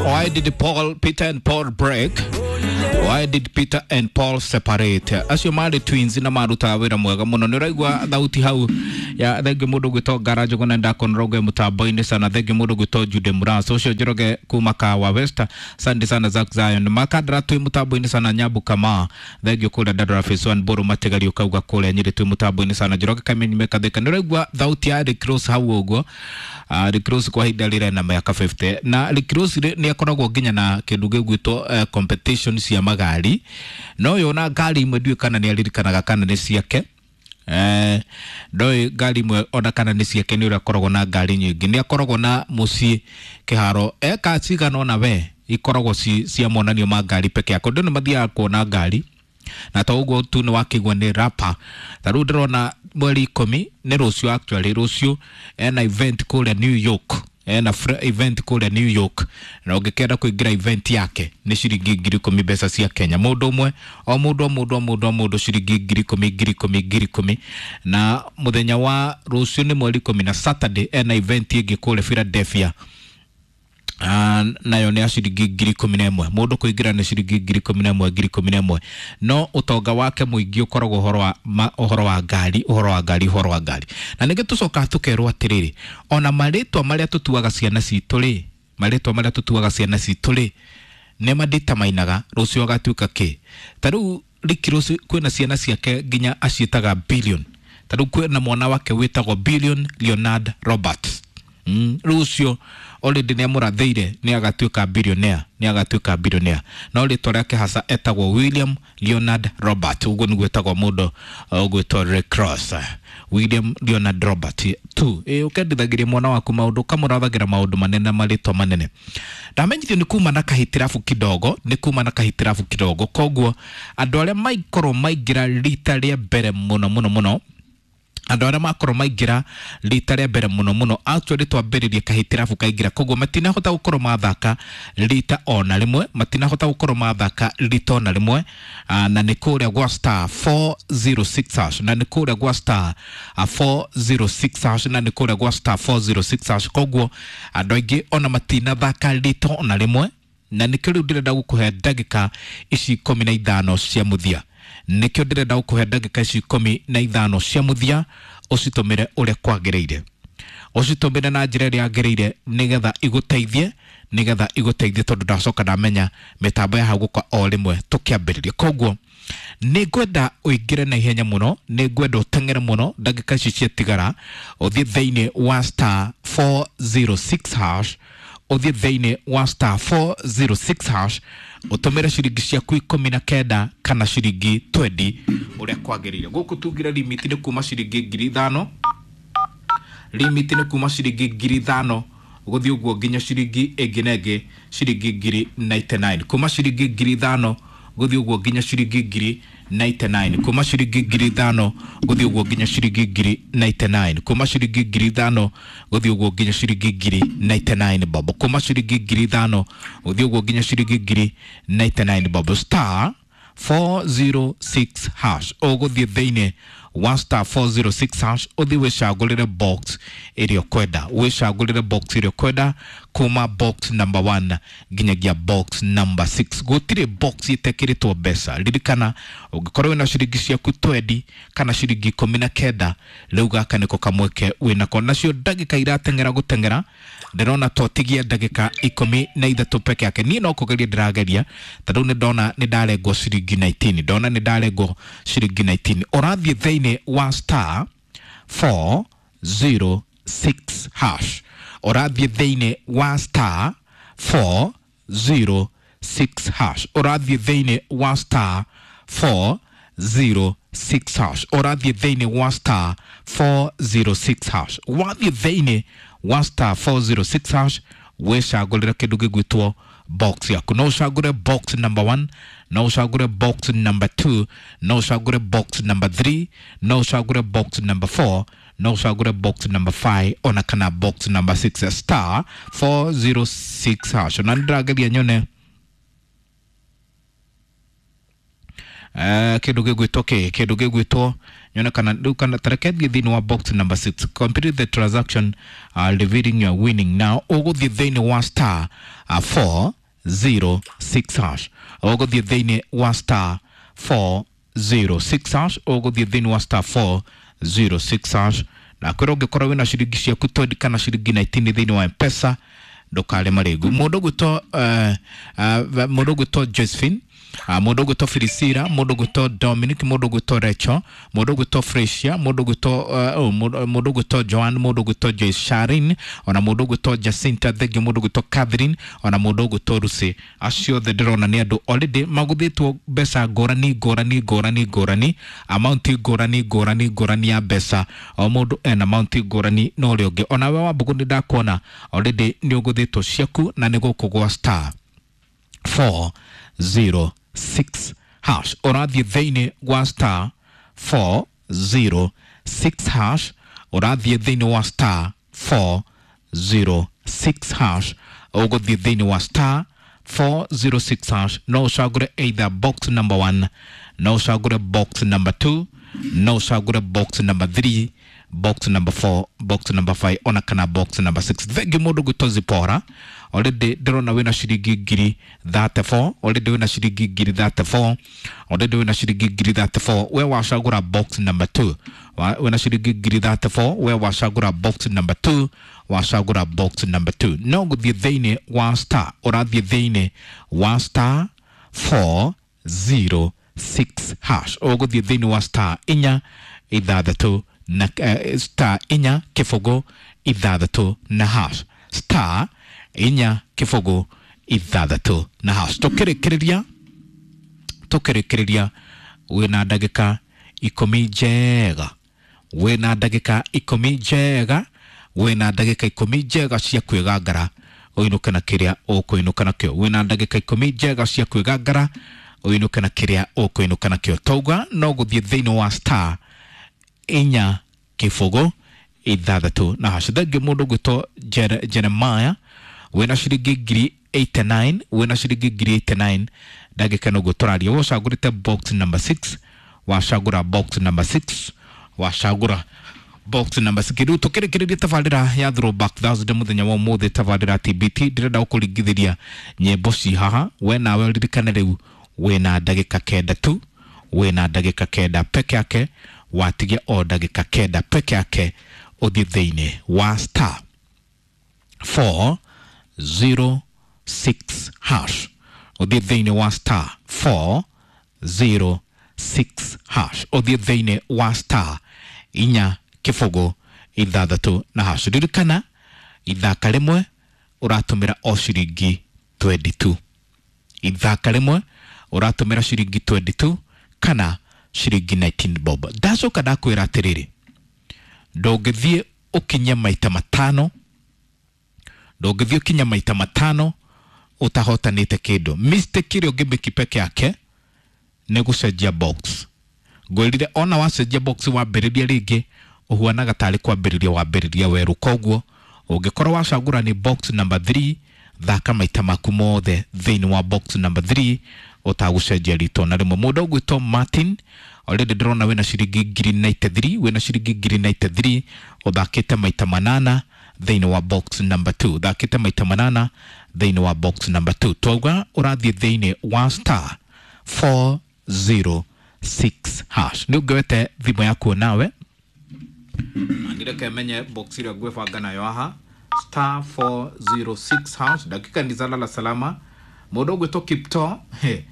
Why did Paul, Peter and Paul break? Why did Peter and Paul separate? Acio marĩ twins na marutaga wĩra mwega mũno. Nĩ ũraigua thauti hau ya thengi mũndũ gwĩtwo Ngara Njũgũna ndakonoroge mũtambo-inĩ sana, thengi mũndũ gwĩtwo Jude Murasa ũcio Njoroge kuma Kawa West, asante sana Zack Zion Makandara twĩ mũtambo-inĩ sana, Nyambu Kama thengi kũrĩa Dandora Phase 1 Mbũrũ Matigari ũkauga kũrĩa Nyĩrĩ twĩ mũtambo-inĩ sana, Njoroge Kamenyi Mekatheka. Nĩ ũraigua thauti ya Rick Ross hau ũguo. Rick Ross kwa ihinda rĩrĩ na mĩaka 50 na Rick Ross nĩ akoragwo nginya na kĩndũ gĩgwĩtwo competition cia magari, no ũyũ ona ngari imwe ndiũĩ kana nĩ aririkanaga kana nĩ ciake. Ndoĩ ngari imwe ona kana nĩ ciake, nĩ ũrĩa akoragwo na ngari nyingĩ, nĩ akoragwo na mũciĩ kĩharo eka cigana ona we ikoragwo cia monanio ma ngari peke yake. Andũ nĩ mathiaga kuona ngari na to ũguo tu, nĩ wakĩigua nĩ rapper. Ta rĩu ndĩrona mweri 10 nĩ rũciũ, actually rũciũ ena event kũrĩa New York, ena event kũrĩa New York, na ũngĩkenda kũingĩra event yake nĩ ciringi 10,000 mbeca cia Kenya mũndũ ũmwe, o mũndũ o mũndũ o mũndũ o mũndũ ciringi 10,000 10,000 10,000. Na mũthenya wa rũciũ nĩ mweri 10 na Saturday ena event ĩngĩ kũrĩa Philadelphia. Nayo nĩ ya ciringi 11,000 mũndũ kũingĩra, nĩ ciringi 11,000 11,000. No ũtonga wake mũingĩ ũkoragwo ũhoro wa ũhoro wa ngari, ũhoro wa ngari, ũhoro wa ngari. Na ningĩ tũcokaga tũkerwo atĩrĩrĩ, ona marĩtwa marĩa tũtuaga ciana citũ rĩ, marĩtwa marĩa tũtuaga ciana citũ rĩ, nĩ maditamainaga rũciũ agatuĩka kĩ. Ta rĩu Rick Ross kwĩna ciana ciake nginya aciĩtaga billion. Ta rĩu kwĩna mwana wake wĩtagwo Billion Leonard Robert. Rĩu ũcio already nĩ amũrathĩire nĩ agatuĩka billionaire, nĩ agatuĩka billionaire, no rĩtwa rĩake hasa etagwo William Leonard Robert. Ũguo nĩguo etagwo mũndũ ũgwĩtwo Rick Ross, William Leonard Robert tu. Ĩ ũkendithagĩria mwana waku maũndũ, ũkamũrathagĩra maũndũ manene, marĩtwa manene. Ndamenyithio nĩ kuma na kahitirabu kidogo, nĩ kuma na kahitirabu kidogo, koguo andũ arĩa maikorwo maingĩra rita rĩa mbere mũno mũno mũno, andũ arĩa makorwo maingĩra rita rĩa mbere mũno mũno, actually twambĩrĩrie kahitirabu kaingĩra, koguo matinahota gũkorwo mathaka rita ona rĩmwe, matinahota gũkorwo mathaka rita ona rĩmwe. Na nĩ kũrĩa gwa star 406 hash, na nĩ kũrĩa gwa star 406 hash, na nĩ kũrĩa gwa star 406 hash. Koguo andũ aingĩ ona matinathaka rita ona rĩmwe, na nĩkĩo rĩu ndĩrenda gũkũhe ndagĩka ici 15 cia mũthia, nĩkĩo ndĩrenda gũkũhe ndagĩka ici 15 cia mũthia ũcitũmĩre ũrĩa kwagĩrĩire, ũcitũmĩre na njĩra ĩrĩa yagĩrĩire, nĩgetha igũteithie, nĩgetha igũteithie, tondũ ndacoka ndamenya mĩtambo ya hau gũka o rĩmwe tũkĩambĩrĩria. Koguo nĩ ngwenda ũingĩre na ihenya mũno, nĩ ngwenda ũteng'ere mũno ndagĩka ici ciatigara, ũthiĩ thĩinĩ wa star 406 hash, ũthiĩ thĩinĩ wa star 406 hash, ũtũmĩre ciringi ciaku 19 kana ciringi 20 ũrĩa kwagĩrĩire. Gũkũ tugire limit nĩ kuma ciringi 5,000, limit nĩ kuma ciringi 5,000 gũthiĩ ũguo nginya ciringi ĩngĩ na ĩngĩ ciringi 99,000, kuma ciringi 5,000 gũthiĩ ũguo nginya ciringi 99,000, kuma ciringi 5,000 gũthiĩ ũguo nginya ciringi 99,000, kuma ciringi 5,000 gũthiĩ ũguo nginya ciringi 99,000 bob, kuma ciringi 5,000 gũthiĩ ũguo nginya ciringi 99,000 bob, star 406 hash. Ũgũthiĩ thĩinĩ wa star 406 hash, ũthiĩ wĩcagũrĩre box ĩrĩa ũkwenda, wĩcagũrĩre box ĩrĩa ũkwenda kuma box number 1 nginyagia box number 6. Gũtirĩ box ĩtekĩrĩtwo mbeca. Ririkana ũngĩkorwo wĩna ciringi ciaku 20 kana ciringi 19, rĩu gaka nĩko kamweke wĩnako. Nacio ndagĩka irateng'era gũteng'era, ndĩrona twatigia ndagĩka 13 peke yake. Niĩ no kũgeria ndĩrageria, ta rĩu nĩ ndona nĩ ndarengwo ciringi 19, ndona nĩ ndarengwo ciringi 19. Ũrathiĩ thĩinĩ wa star 406 hash, ũrathiĩ thĩinĩ wa star 406 hash, ũrathiĩ thĩinĩ wa star 406 hash, ũrathiĩ thĩinĩ wa star 406 hash. Wathiĩ thĩinĩ wa star 406 hash, wĩcagũrĩre kĩndũ gĩgwĩtwo box yaku. No ũcagũre box number 1, no ũcagũre box number 2, no ũcagũre box number 3, no ũcagũre box number 4, no ũcagũre box number 5 ona kana box number 6, star 406 hash. Na nĩndĩrageria nyone kĩndũ gĩgwĩtwo kĩ, kĩndũ gĩgwĩtwo Nyone kana rĩu kana tareke thiĩ thĩinĩ wa box number 6. Complete the transaction, revealing your winning now. Ũgũthiĩ thĩinĩ wa star 406 hash. Ũgũthiĩ thĩinĩ wa star 406 hash. Ũgũthiĩ thĩinĩ wa star 406 hash. Na kwĩra ũngĩkorwo wĩna ciringi ciaku 20 kana ciringi 19 thĩinĩ wa Mpesa, ndũkare marĩngu. Mũndũ ũgwĩtwo mũndũ ũgwĩtwo Josephine, mũndũ ũgwĩtwo Filisira, mũndũ ũgwĩtwo Dominic, mũndũ ũgwĩtwo Rachel, mũndũ ũgwĩtwo Fresia, mũndũ ũgwĩtwo mũndũ ũgwĩtwo Joan, mũndũ ũgwĩtwo Joyce Sharin, ona mũndũ ũgwĩtwo Jacinta Thengio, mũndũ ũgwĩtwo Catherine, ona mũndũ ũgwĩtwo Lucy. Acio othe ndĩrona nĩ andũ already magũthĩtwo mbeca ngũrani ngũrani ngũrani ngũrani, amount ngũrani ngũrani ngũrani ya mbeca. O mũndũ ena amount ngũrani na ũrĩa ũngĩ. Onawe Wambũgũ nĩ ndakuona already nĩ ũgũthĩtwo ciaku, na nĩ gũkũ gwa star 406 hash. Ũrathiĩ thĩinĩ wa star 406 hash. Ũrathiĩ thĩinĩ wa star 406 hash. Ũgũthiĩ thĩinĩ wa star 406 hash. No ũcagũre either box number 1, no ũcagũre box number 2, no ũcagũre box number 3, box number 4, box number 5, ona kana box number 6. Thengi mũndũ gwĩtwo Zipora, already ndĩrona wĩna ciringi ngiri 34. Already wĩna ciringi ngiri 34. Already wĩna ciringi ngiri 34. We wacagũra box number 2. Wĩna ciringi ngiri 34. We wacagũra box number 2. Wacagũra box number 2, no gũthiĩ thĩinĩ wa star, ũrathiĩ thĩinĩ wa star 406 hash. Ũgũthiĩ thĩinĩ wa star inya ithathatũ na star inya kĩbũgũ ithathatũ na hash. Star inya kĩbũgũ ithathatũ na hash. Tũkĩrĩkĩrĩria wĩna ndagĩka 10 njega, wĩna ndagĩka 10 njega, wĩna ndagĩka 10 njega cia kwĩgangara ũinũke na kĩrĩa ũkũinũka nakĩo. Wĩna ndagĩka 10 njega cia kwĩgangara ũinũke na kĩrĩa ũkũinũka nakĩo. Tauga no gũthiĩ thĩinĩ wa star inya kĩbũgũ ithathatũ na hash. Thengi mũndũ ũgwĩtwo Jeremiah, wĩna ciringi ngiri 89. Wĩna ciringi ngiri 89 ndagĩka ĩno ũguo tũraria. We ũcagũrĩte box number 6. Wacagũra box number 6. Wacagũra box number 6. Rĩu tũkĩrĩkĩrĩria tabarĩra ya Throwback Thursday mũthenya wa ũmũthĩ, tabarĩra TBT, ndĩrenda gũkũringithĩria nyĩmbo ci haha. We nawe ũririkane rĩu wĩna ndagĩka 9 tu, wĩna ndagĩka 9 peke yake. Watigia o ndagĩka 9 peke yake ũthiĩ thĩinĩ wa star 406 hash. Ũthiĩ thĩinĩ wa star 406 hash. Ũthiĩ thĩinĩ wa star inya kĩbũgũ ithathatũ na hash. Ririkana ithaka rĩmwe ũratũmĩra o ciringi 22. Ithaka rĩmwe ũratũmĩra ciringi 22 kana ciringi 19 bob. Ndacoka ndakwĩra atĩrĩrĩ, ndũngĩthiĩ ũkinye maita matano, ndũngĩthiĩ ũkinye maita matano ũtahotanĩte kĩndũ. Mistake ĩrĩa ũngĩmĩki peke yake nĩ gũcenjia box. Ngwĩrire ona wacenjia box wambĩrĩria rĩngĩ ũhuanaga tarĩ kwambĩrĩria wambĩrĩria werũ. Koguo ũngĩkorwo wacagũra nĩ box number 3, thaka maita maku mothe thĩinĩ wa box number 3 ũtagũcenjia rĩtwa na rĩmwe. Mũndũ ũgwĩtwo Martin, already ndĩrona wĩna ciringi ngiri 93. Wĩna ciringi ngiri 93, ũthakĩte maita manana thĩinĩ wa box number 2. Ũthakĩte maita manana thĩinĩ wa box number 2. Twauga ũrathiĩ thĩinĩ wa star 406 hash. Nĩ ũngĩwete thimũ yaku nawe ndireke menye box ĩrĩa ngwĩbanga nayo haha, star 406 hash. Ndagĩka ni zalala salama. Mũndũ ũgwĩtwo Kipto, he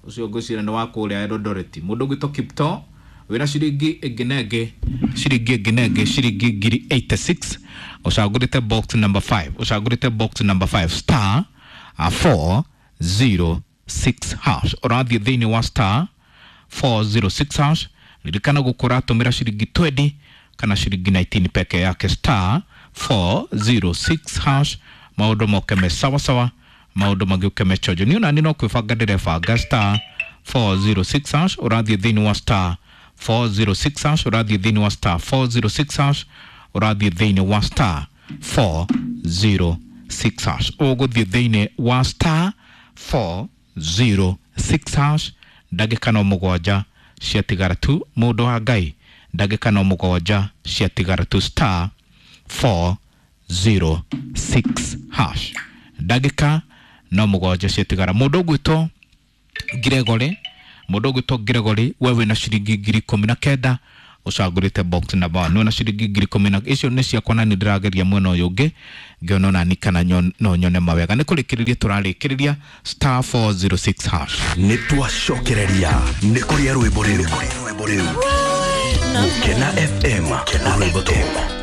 ũcio ngwĩciria nĩ wa kũrĩa Eldoret. Mũndũ ũgwĩtwo Kipto wĩna ciringi ĩngĩ na ĩngĩ, ciringi ĩngĩ na ĩngĩ, ciringi ngiri 86. Ũcagũrĩte box number 5. Ũcagũrĩte box number 5, star 406 hash. Ũrathiĩ thĩinĩ wa star 406 hash. Ririkana gũkũ ũratũmĩra ciringi 20 kana ciringi 19 peke yake. Star 406 hash. Maũndũ moke me sawa sawa, maũndũ magĩũke me chonjo. Niĩ onani no kwĩbanga ndĩrebanga. Star 406 hash. Ũrathiĩ thĩinĩ wa star 406 hash. Ũrathiĩ thĩinĩ wa star 406 hash. Ũrathiĩ thĩinĩ wa star 406 hash. Ũgũthiĩ thĩinĩ wa star 406 hash. Ndagĩka no mũgwanja ciatigara tu, mũndũ wa Ngai. Ndagĩka no 7 ciatigara tu, star 406 hash. Ndagĩka no 7 ciatigara. Mũndũ ũgwĩtwo Gregory, mũndũ ũgwĩtwo Gregory, we wĩna ciringi 19,000, ũcagũrĩte box number 1, wĩna ciringi 10,000. Icio nĩ ciakwa na nĩ ndĩrageria mwena ũyũ ũngĩ ngĩona onani kana no nyone mawega. Nĩ kũrĩkĩrĩria tũrarĩkĩrĩria star 406 hash. Nĩ twacokereria nĩ kũrĩa rwĩmbo rĩu. Gũkena FM, rwĩmbo top.